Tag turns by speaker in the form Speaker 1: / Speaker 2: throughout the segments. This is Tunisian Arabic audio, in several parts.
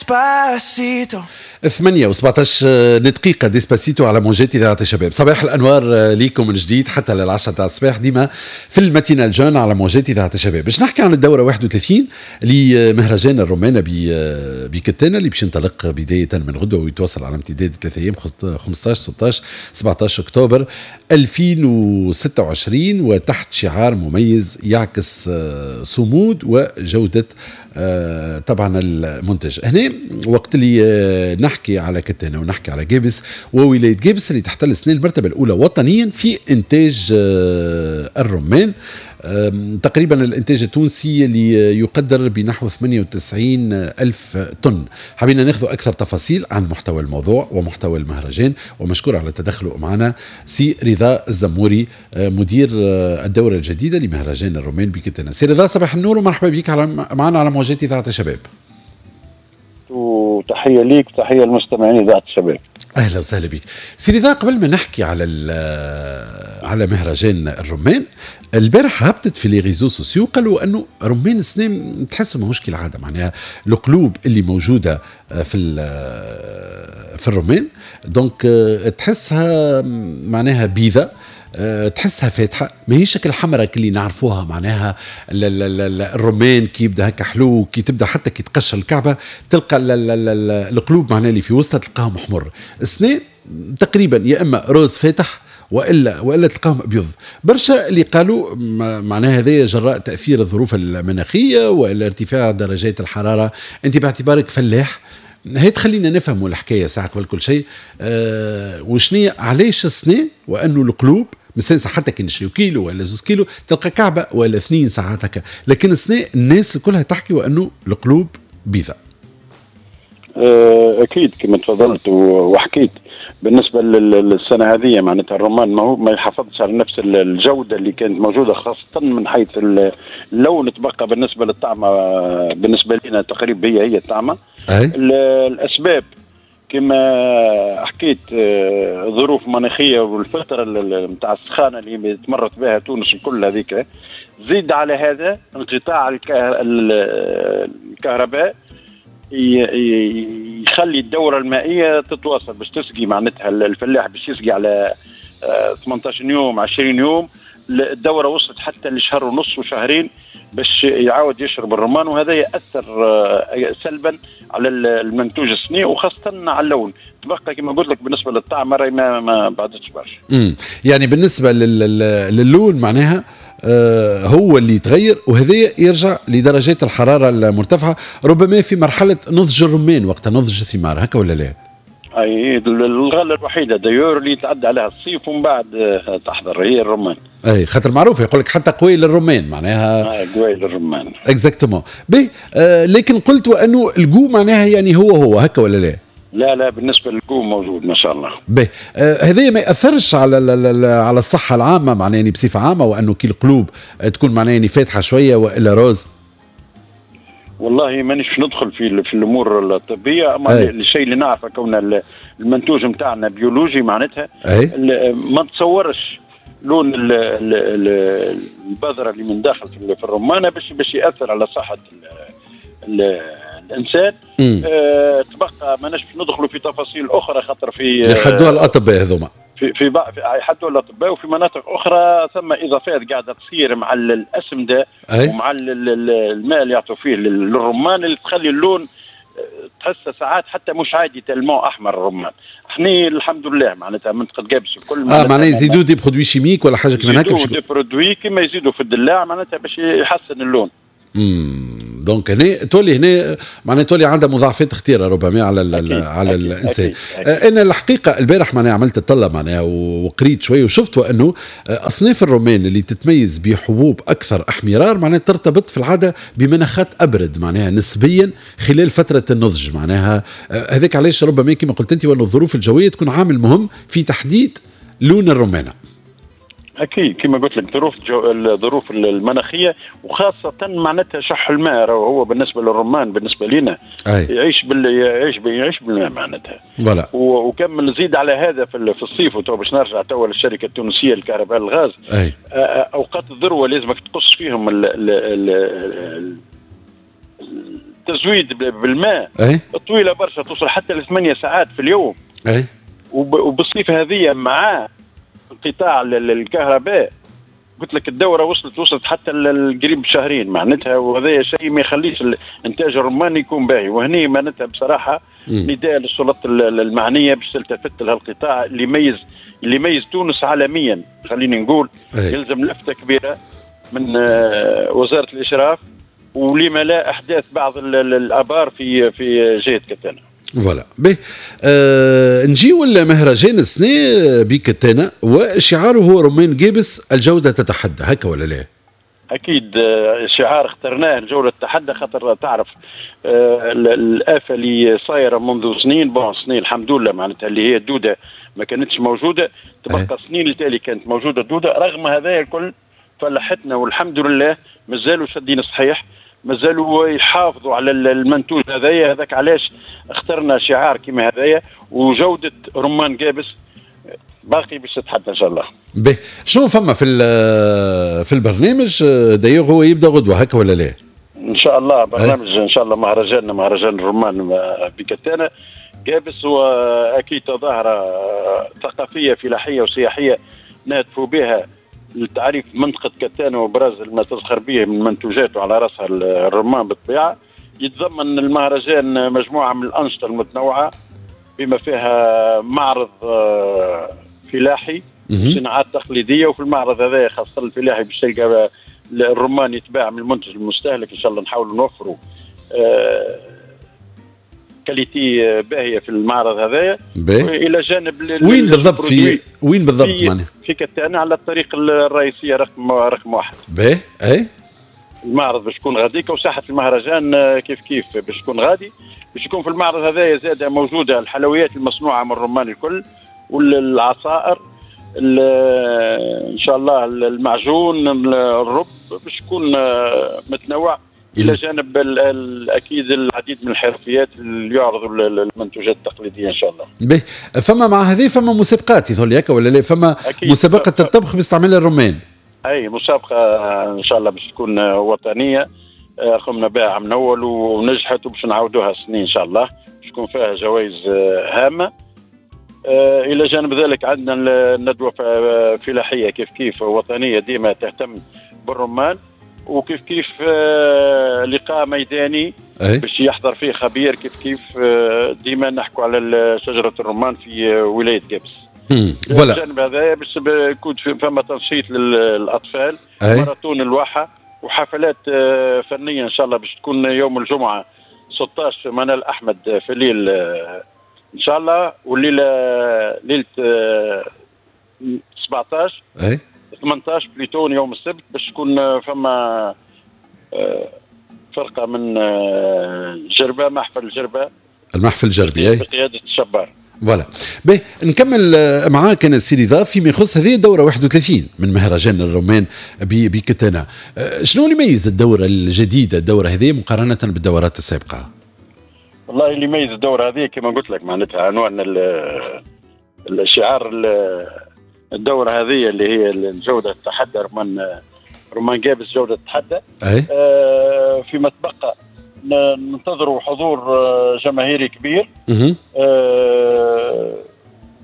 Speaker 1: Despacito.
Speaker 2: 8 و17 دقيقة، Despacito على موجات إذاعة الشباب. صباح الأنوار ليكم من جديد حتى لل10 تاع الصباح، ديما في ال matinale jeune على موجات إذاعة الشباب. باش نحكي عن الدورة 31 لمهرجان الرمانة بكتانة اللي باش ينطلق بداية من غدوة ويتواصل على امتداد 3 أيام، 15، 16، 17 أكتوبر 2026، وتحت شعار مميز يعكس صمود وجودة طبعا المنتج. هنا وقت اللي نحكي على كتانة ونحكي على قابس وولاية قابس اللي تحتل السنة المرتبة الأولى وطنيا في إنتاج الرمان، تقريبا الإنتاج التونسي اللي يقدر بنحو 98 ألف طن. حبينا ناخذ أكثر تفاصيل عن محتوى الموضوع ومحتوى المهرجان، ومشكور على تدخله معنا سي رضا الزموري، مدير الدورة الجديدة لمهرجان الرمان بكتانة. سي رضا، صباح النور ومرحبا بك معنا على موجات إذاعة الشباب.
Speaker 3: وتحية ليك وتحية للمستمعين إذاعة الشباب.
Speaker 2: اهلا وسهلا بك سي رضا. قبل ما نحكي على مهرجان الرمان، البارح هبطت في les réseaux sociaux، قالوا انه رمان السنة تحسه ماهوش كالعاده، معناها القلوب اللي موجودة في الرمان donc تحسها معناها بيضه، تحسها فاتحه، ماهيش شكل حمراء اللي نعرفوها. معناها الرمان كي يبدا هكا حلو، كي تبدا حتى كي تقشر الكعبة تلقى القلوب معناها اللي في وسطها تلقاهم حمر. السنة تقريبا يا اما rose فاتح والا تلقاهم ابيض. برشا اللي قالوا معناها هذا جراء تاثير الظروف المناخية والا ارتفاع درجات الحراره. انت باعتبارك فلاح، هي تخلينا نفهموا الحكاية ساعة قبل كل شيء، وشنية علاش السنة وانه القلوب مسانسة حتى كي نشريو كيلو ولا 2 كيلو تلقى كعبه ولا اثنين ساعات هكا، لكن السنة الناس كلها تحكي وانه القلوب بيضاء؟
Speaker 3: اكيد، كما تفضلت وحكيت، بالنسبة للسنة هذه معناتها الرمان ما هو ما يحافظش على نفس الجودة اللي كانت موجوده، خاصة من حيث اللون. تبقى بالنسبة للطعمه، بالنسبة لنا تقريبا هي هي الطعمه. الاسباب كما حكيت، ظروف مناخيه والفترة نتاع السخانه اللي تمرت بها تونس الكل هذيك. زيد على هذا انقطاع الكهرباء يخلي الدورة المائية تتواصل باش تسقي، معناتها الفلاح باش يسقي على 18 يوم، 20 يوم. الدورة وصلت حتى لشهر ونص وشهرين باش يعاود يشرب الرمان، وهذا ياثر سلبا على المنتوج السني وخاصة على اللون. تبقى كما قلت لك بالنسبة للطعم راهي ما بعدتش برشا.
Speaker 2: يعني بالنسبة للون معناها هو اللي يتغير، وهذا يرجع لدرجات الحرارة المرتفعة ربما في مرحلة نضج الرمان وقت نضج الثمار، هكا ولا لا؟
Speaker 3: اي، الغلة الوحيدة d'ailleurs اللي يتعدى عليها الصيف ومن بعد تحضر هي الرمان.
Speaker 2: اي، خاطر معروف يقول لك حتى قوي للرمان معناها.
Speaker 3: آه، قوي للرمان.
Speaker 2: exactement. باهي، لكن قلت وانه ال goût معناها يعني هو هو، هكا ولا لا؟
Speaker 3: لا لا، بالنسبة لل goût موجود ما شاء الله.
Speaker 2: باهي، هذا ما ياثرش على الصحة العامه، معناها يعني بصفة عامه، وانه كي القلوب تكون معناها يعني فاتحة شوية والا rose؟
Speaker 3: والله مانيش ندخل في الامور الطبيه، اما الشيء اللي نعرفه كون المنتوج نتاعنا بيولوجي معناتها ما تصورش لون البذرة اللي من داخل في الرمانه باش ياثر على صحة ال ال الانسان. تبقى ماناش ندخلوا في تفاصيل اخرى خاطر في
Speaker 2: يحدوها الاطباء هذوما.
Speaker 3: في يحدوا الاطباء، وفي مناطق اخرى ثم اضافات قاعدة تصير مع الاسمده ومع الماء اللي يعطوا فيه للرمان اللي تخلي اللون تحسه ساعات حتى مش عادي، tellement احمر الرمان. احنا الحمد لله معناتها منطقة قابس الكل.
Speaker 2: اه، معناها يزيدوا des produits chimiques ولا حاجة كيما
Speaker 3: هكا؟ يزيدوا des produits كيما يزيدوا في الدلاع، معناتها باش يحسن اللون.
Speaker 2: Donc هنا تولي هنا معناها تولي عندها مضاعفات خطيرة ربما على الانسان. أكيد. انا الحقيقة البارح معناها عملت الطله معناها وقريت شوية وشفت انه اصناف الرومان اللي تتميز بحبوب اكثر احمرار معناها ترتبط في العادة بمناخات ابرد معناها نسبيا خلال فترة النضج. معناها هذاك علاش ربما كما قلت انت وان الظروف الجوية تكون عامل مهم في تحديد لون الرمانه.
Speaker 3: اكيد، كما قلت لك الظروف المناخية وخاصة معناتها شح الماء. هو بالنسبة للرمان بالنسبة لنا يعيش بالماء معناتها.
Speaker 2: voilà.
Speaker 3: وكم نزيد على هذا في الصيف، وتو باش نرجع توا للشركة التونسية للكهرباء الغاز، اوقات الذروة لازمك تقص فيهم ال ال ال التزويد بالماء طويلة برشا، توصل حتى ل 8 ساعات في اليوم. وبالصفه هذه مع انقطاع الكهرباء قلت لك الدورة وصلت حتى القريب شهرين معناتها، وهذا شيء ما يخليش الانتاج الرماني يكون باهي. وهني معناتها بصراحة نداء للسلطات المعنية باش تلتفت لهالقطاع اللي يميز تونس عالميا. خليني نقول يلزم لفته كبيرة من وزارة الاشراف، ولما لا احداث بعض الابار في جهة كتانه.
Speaker 2: voilà به نجيو لمهرجان السنة بكتانه، وشعاره هو رمان قابس الجودة تتحدى، هكا ولا لا؟
Speaker 3: اكيد شعار اخترناه الجودة تتحدى، خاطر تعرف الافة اللي صايرة منذ سنين، bon سنين الحمد لله معناتها اللي هي الدودة ما كانتش موجودة، تبقى سنين التالي كانت موجودة الدودة. رغم هذا الكل فلحتنا والحمد لله مازالوا شادين صحيح، مازالوا يحافظوا على المنتوج هذايا. هذاك علاش اخترنا شعار كيما هذايا، وجودة رمان قابس باقي باش تتحدى ان شاء الله.
Speaker 2: به شنو فما في البرنامج دايوغ؟ هو يبدا غدوه هكا ولا لا؟
Speaker 3: ان شاء الله برنامج ان شاء الله مهرجان الرمان بكتانه قابس، واكيد تظاهرة ثقافية فلاحية وسياحيه نهدفوا بها لتعريف منطقة كتانه وبراز ما تزخر به من منتوجاته على راسها الرمان بالطبيعة. يتضمن المهرجان مجموعة من الانشطة المتنوعة بما فيها معرض فلاحي صناعات تقليدية، وفي المعرض هذا خاصة الفلاحي باش تلقى الرمان يتباع من المنتج المستهلك. ان شاء الله نحاولوا نوفروا qualité باهيه في المعرض هذايا. الى جانب
Speaker 2: وين بالضبط في وين بالضبط معناها؟
Speaker 3: في كتانه على الطريق الرئيسية رقم 1.
Speaker 2: باهي اي
Speaker 3: المعرض باش يكون غاديك، وساحه المهرجان كيف كيف باش تكون غادي. باش يكون في المعرض هذايا زاده موجودة الحلويات المصنوعة من الرمان الكل، والعصائر، ان شاء الله المعجون، الرب، باش يكون متنوع. الى جانب اكيد العديد من الحرفيات اللي يعرضوا المنتوجات التقليدية ان شاء الله.
Speaker 2: به فما مع هذه فما مسابقات يظهر لي هكا ولا لا؟ فما مسابقة الطبخ باستعمال الرمان.
Speaker 3: اي مسابقة ان شاء الله باش تكون وطنية، قمنا بها عام الاول ونجحت، وباش نعاودوها السنين ان شاء الله، باش تكون فيها جوائز هامة. الى جانب ذلك عندنا الندوة فلاحية كيف كيف وطنية ديما تهتم بالرمان، وكيف كيف لقاء ميداني باش يحضر فيه خبير كيف كيف ديما نحكوا على شجرة الرمان في ولاية قابس.
Speaker 2: voilà
Speaker 3: الجانب هذايا باش يكون فما تنشيط للاطفال، ماراثون الواحه، وحفلات فنية ان شاء الله باش تكون يوم الجمعة 16 منال احمد في الليل ان شاء الله، والليلة ليلة 17 18 plutôt يوم السبت باش تكون فما فرقه من جربه، محفل جربه،
Speaker 2: المحفل الجربي
Speaker 3: بقيادة الشبار.
Speaker 2: voilà باهي نكمل معاك انا سي رضا فيما يخص هذه الدورة 31 من مهرجان الرمان بكتانه. شنو اللي يميز الدورة الجديدة، الدورة هذه مقارنة بالدورات السابقة؟
Speaker 3: والله اللي يميز الدورة هذه كما قلت لك معناتها عنوان الشعار الدورة هذه اللي هي الجودة التحدى، رمان قابس جوده التحدى. فيما تبقى ننتظروا حضور جماهيري كبير.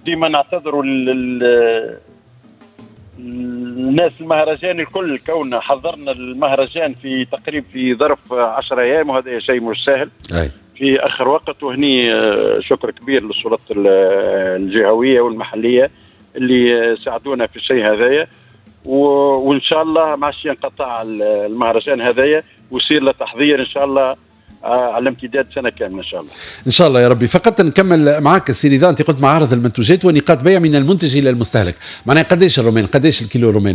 Speaker 3: ديما نعتذروا الناس المهرجان الكل، كوننا حضرنا المهرجان في تقريبا في ظرف 10 ايام، وهذا شيء مش سهل في اخر وقت. وهني شكر كبير للسلطات الجهوية والمحليه اللي ساعدونا في الشيء هذايا، وان شاء الله ما عادش ينقطع المهرجان هذايا ويصير له تحضير ان شاء الله على امتداد سنة كاملة ان شاء الله.
Speaker 2: ان شاء الله يا ربي. فقط نكمل معاك السي رضا، انت قلت معارض المنتوجات ونقاط بيع من المنتج الى المستهلك، معناها قداش الرومان، قداش الكيلو رومان؟